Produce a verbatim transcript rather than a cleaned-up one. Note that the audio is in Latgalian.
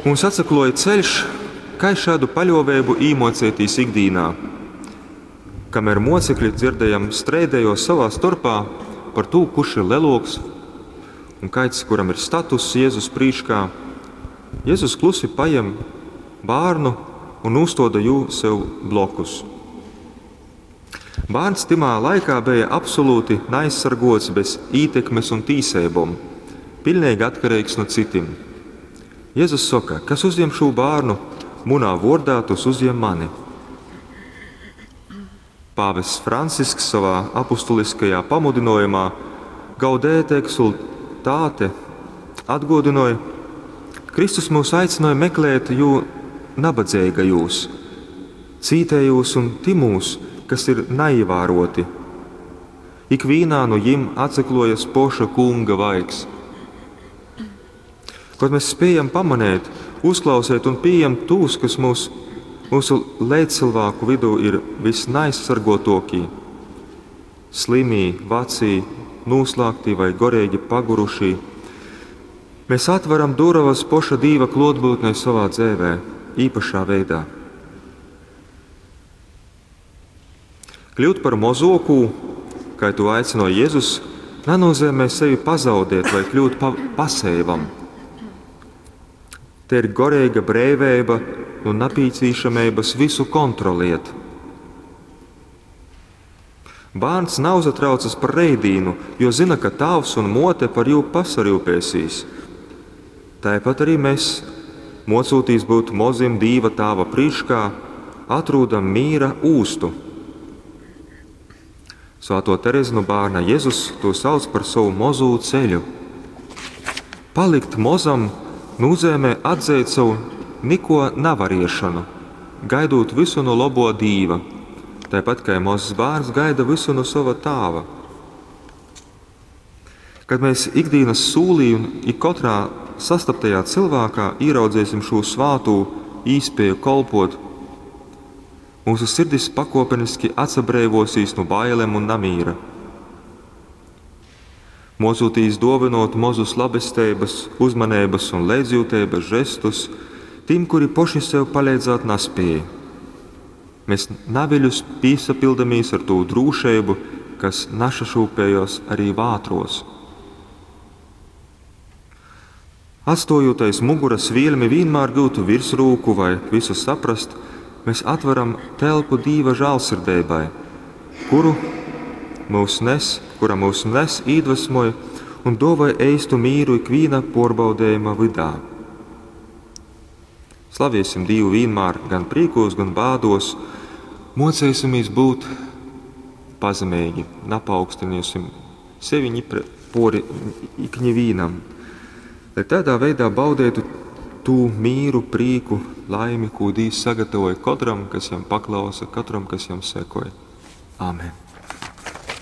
Mums atsakluoja ceļš, kai šādu paļuoveibu īmuocētīs ikdīnā. Kamēr mocekļi dzirdējam streidējos savā storpā par tū, kurš ir leloks un kaids, kuram ir statuss Jēzus prīškā, Jēzus klusi pajem bārnu un nūstoda jū sev blokus. Bārns tymā laikā beja absolūti neaizsargots bez ītekmes un tīseibom, pilnīgi atkarīgs no citim. Jēzus soka, kas uzņem šo bērnu, munā vordā, tas uzņem mani. Pāvests Francisks savā apustuliskajā pamudinājumā Gaudete exultate atgādināja, Kristus mūs aicināja meklēt jū nabadzīgajos, cītējos un timūs, kas ir naievēroti. Ikvienā no jim atsaklojas poša kunga vaigs. Kaut mēs spējam pamanīt, uzklausīt un pieņemt tos, kas mūs, mūsu līdzcilvēku vidū ir visneaizsargotokī, slimī, vecī, noslēgtī vai gorīgi pagurušī, mēs atveram durvas poša dīva klotbūtnē savā dzēvē, īpašā veidā. Kļūt par mozokū, kā to aicināja Jēzus, nenozīmē sevi pazaudēt vai kļūt pa paseivam. Te ir gorīga brīvība un napīcīšamības visu kontroliet. Bērns nav uzatraucas par reidīnu, jo zina, ka tāvs un mote par jū pasarūpēsīs. Tāpat arī mēs, mocūtīs būt mozim Dīva tāva prīškā, atrūdam mīra ūstu. Svēto Terezu no bērna Jēzus to sauc par savu mozū ceļu. Palikt mozam nozīmē atzīt savu niko navariešanu, gaidot visu no labo Dīva, tāpat kā mazs bērns gaida visu no sava tāva. Kad mēs ikdienas sūlī un ik katrā sastaptajā cilvēkā ieraudzēsim šo svātu īspēju kolpot, mūsu sirdis pakopeniski atsabrēvosīs no bailēm un namīra. Mocūtīs dovinot mozus labestības, uzmanības un līdzjūtības žestus tiem, kuri poši sev palīdzēt nespēja. Mēs naviļus pīsapildamies ar to drūšību, kas našašūpējos arī vātros. Atstojot aiz muguras vielmi vienmēr gūtu virsrūku vai visu saprast, mēs atveram telpu Dīva žālsirdībai, kuru mūs nes, kura mūs nes, iedvesmoja un dāvāja eistu mīru ikviena porbaudējuma vidā. Slaviesim Dievu vienmēr, gan prīkos, gan bādos, mocēsimies būt pazemīgi, napaukstinīsim sevi ņipre pori ikņevīnam, lai tādā veidā baudētu tū mīru, prīku, laimi, ko Dievs sagatavoja katram, kas jam paklausa, katram, kas jam sekoja. Āmen!